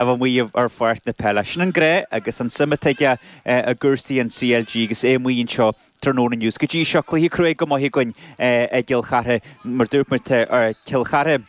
A bheith amuigh ar pháirc na peile. Sin an gnó agus an suim atá aige i gcúrsaí an CLG agus é amuigh anseo tráthnóna inniu. Go dtí seo, cluiche cruaidh go maith againn i gCill Chartha. Mar dúirt muid, tá Cill Chartha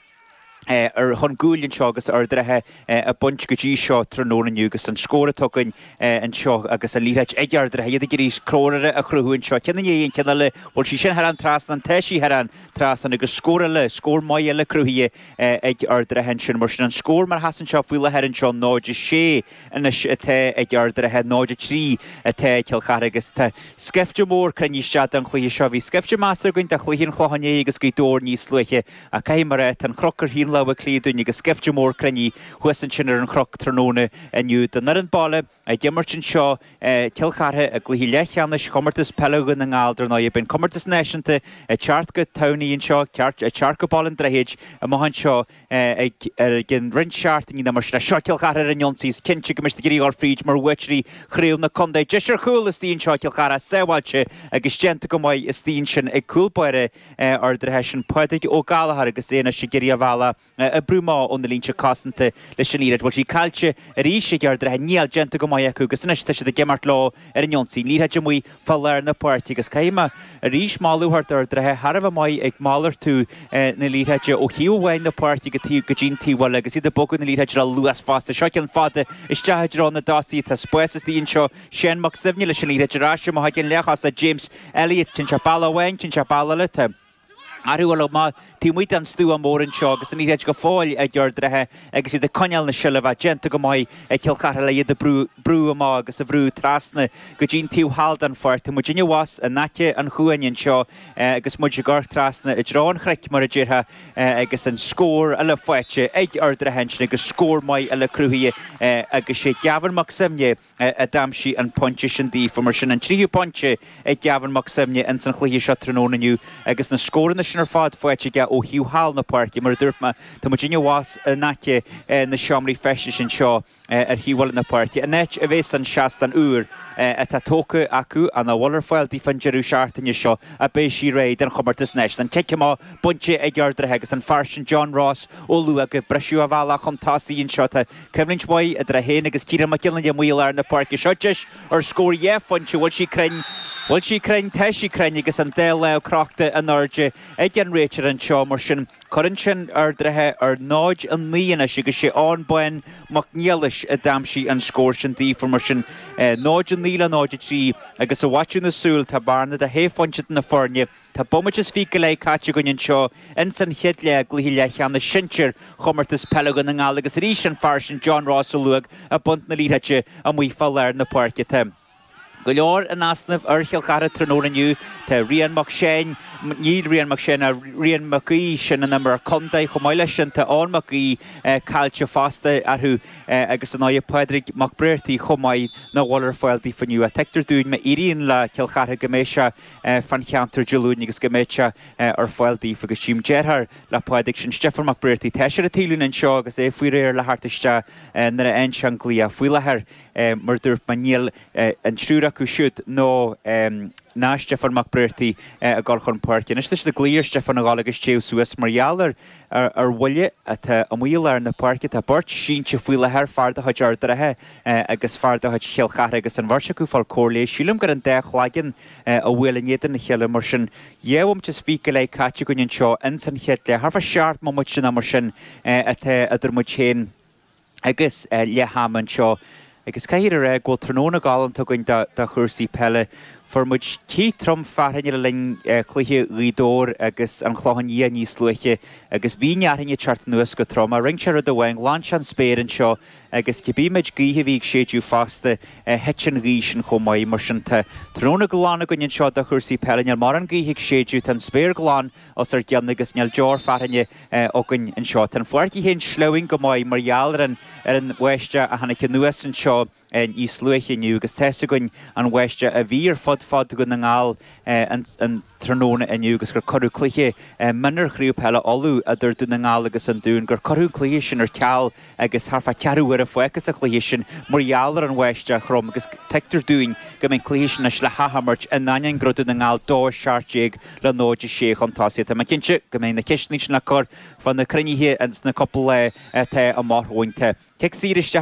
ar chun cúil anseo agus Ard an Rátha i bpointe go dtí seo tráthnóna inniu agus an scór atá againn anseo agus an liathróid ag Ard an Rátha, iad ag iarraidh scór a chruthú anseo. Ceann i ndiaidh an ceann eile, bhfuil sí sin thar an trasnán? Tá sí thar an trasnán agus scór eile, scór maith eile cruthaithe ag Ard an Rátha ansin. Mar sin an scór mar a sheasann sé faoi láthair anseo, 0-6 anois atá ag Ard an Rátha, 0-3 atá ag Cill Chartha agus tá scaifte mór cruinnithe isteach don chluiche seo. Bhí scaifte measartha againn do chluiche an Chlocháin Léith agus Gaoth Dobhair níos luaithe ach caithfidh mé a rá, tá an chnoc ar thaobh an Átha Cliath dúinn agus scaifte mór cruinnithe thuas ansin ar an chnoc tráthnóna inniu don fhoireann baile. Ag imirt anseo i gCill Chartha i gcluiche leathcheannais Chomórtas Peile Dhún na nGall dar ndóigh. Beidh an comórtas náisiúnta ag teacht go Tamhnaigh anseo, ag teacht go Baile an Droichid amach anseo ag i gcionn roinnt seachtainí nó mar sin. Seo Cill Chartha ar an ionsaí. Is cinnte go mbeidh siad ag iarraidh a dhul fríd mar bhuaiteoirí chraobh na contae. Deis ar chúl istigh anseo ag Cill Chartha, sábháilte agus déanta go maith istigh ansin ag cúl báire Ard an Rátha, sin Pádraig Ó Gallchóir agus é anois ag iarraidh a bhealach a oibriú amach ó na línte cosanta leis an liathróid. Bhfuil sí caillte arís ag Ard an Rátha? Níl, déanta go maith acu agus anois tá siad ag imeacht leo ar an ionsaí. An liathróid amuigh fá lár na páirce agus caithfidh mé arís moladh a thabhairt d'Ard an Rátha, thar a bheith maith ag malartú na liathróide ó thaobh amháin na páirce go dtí an taobh eile agus iad ag bogadh na liathróide le luas fosta. Seo ceann fada isteach i dtreo na dtosaithe. Tá spás istigh anseo. Seán Mac Suibhne leis an liathróid ar ais amach ag an leathchos James Elliott. Téann sé bealach amháin, téann sé bealach eile. Tá. Athrú eile amach taobh amuigh den stua mór anseo agus an liathróid go fóill ag Ard an Rátha agus iad ag coinneáil na seilbhe. Déanta go maith ag Cill Chartha le iad a brú amach agus a bhrú trasna go dtí an taobh thall den pháirc. Tá muidinne abhus in aice an chuain anseo agus muid ag amharc trasna i dtreo an chnoic mar a déarfá agus an scór eile faighte ag Ard an Rátha ansin agus scór maith eile cruthaithe agus sé Gavin Mac Suibhne a d'aimsigh an pointe sin daofa. Mar sin, an tríú pointe ag Gavin Mac Suibhne ins an chluiche seo tráthnóna inniu agus na scóranna sin ar fad faighte aige ó thaobh thall na páirce. Mar a dúirt mé, tá muidinne abhus in aice na seomraí feistis anseo ar thaobh eile na páirce, an áit a bheas an seastán úr atá tógtha acu, ach nach bhfuil ar fáil daofa an deireadh seachtaine seo, ach beidh sí réidh don chomórtas náisiúnta. An cic amach bainte ag Ard an Rátha agus an fear sin John Ross ó Luath ag briseadh a bhealach chun tosaigh anseo. Tá Coimhlint mhaith idir é féin agus Ciarán Mac Giolla amuigh i lár na páirce. Seo deis ar scór dhá phointe. Bhfuil sí cruinn? Bhfuil sí cruinn? Tá sí cruinn agus an dá lámh crochta in airde ag an réiteoir anseo. Mar sin, cuireann sin Ard an Rátha ar 0-9 anois agus sé Eoin Bán Mac Niallais a d'aimsigh an scór sin daofa. Mar sin, 0-9 le 0-3 agus i bhfaiteadh na súl tá bearna de shé phointe idir na foirne. Tá bomaite is fiche go leith caite againn anseo ins an chéad leath i gcluiche leathcheannais sinsir Chomórtas Peile Dhún na nGall agus arís an fear sin John Ross ó Luaigh ag baint na liathróide amuigh fá lár na páirce. Tá go leor in easnamh ar Chill Chartha tráthnóna inniu. Tá Rian Mac Seáin, níl Rian Mac Seáin ach Rian Mac Aoidh, sin an imreoir contae. Chomh maith leis sin tá Eoin Mac Aoidh caillte fosta orthu agus ar ndóigh Pádraig Mac Bréartaigh chomh maith nach bhfuil ar fáil daofa inniu. Tuigtear dúinn má éiríonn le Cill Chartha go mbeidh sé fán cheantar Dé Luain agus go mbeidh sé ar fáil daofa agus tchím deartháir le Pádraig, sin Stiofán Mac Bréartaigh. Tá sé ar an taobhlíne anseo agus é faoi réir le theacht isteach nuair a fhaigheann sé an glaoch. Faoi láthair, mar a dúirt mé, níl an triúr acu siúd nó ná Stiofán Mac Bréartaigh ag dul chun páirce. Anois tá siad ag glaoch ar Stiofán a dhul agus téamh suas mar gheall ar ar bhuille atá amuigh i lár na páirce. Tá beirt sínte faoi láthair, fear de chuid Ard an Rátha agus fear de chuid Chill Chartha agus an bheirt acu ag fáil cóir leighis. Sílim gur an dá chlaigeann a bhuail in éadan a chéile. Mar sin, dhá bhomaite is fiche go leith caite againn anseo ins an chéad leath. Thart fá sheacht mbomaite nó mar sin atá idir muid féin agus leath ama anseo. Agus caithfear a rá go bhfuil tráthnóna galánta againn do chúrsaí peile. Fuair muid cith trom fearthainne le linn chluiche Ghaoth Dobhair agus an Chlocháin Liath níos luaithe agus bhí an fhearthainn ag teacht anuas go trom. Ach rinne sé rud amháin, ghlan sé an spéir anseo agus cibé méid gaoithe a bhí ag séideadh fosta, thit an ghaoth sin chomh maith. Mar sin tá tráthnóna glan againn anseo do chúrsaí peile. Níl mórán gaoithe ag séideadh, tá an spéir glan os ár gcionn agus níl deoir fearthainne againn anseo. Tá an pháirc í féin sleamhain go maith mar gheall ar an ar an bháisteach a tháinig anuas anseo níos luaithe inniu agus tá's againn an bháisteach a bhí ar fud. fhad fá Dhún na nGall an tráthnóna inniu agus gur cuireadh cluiche mionúir Chraobh Peile Uladh idir Dún na nGall agus an Dún, gur cuireadh an cluiche sin ar ceal agus thart fá ceathrú uaire fágtha sa chluiche sin mar gheall ar an bháisteach throm agus tuigtear dúinn go mbeidh an cluiche sin anois le hathimirt in ainneoin go raibh Dún na nGall 2-17 le 0-6 chun tosaigh. Tá mé cinnte go mbeidh na ceisteanna sin le cur fá na cruinnithe ins na cúpla lá atá amach romhainn. Tá cic saor isteach.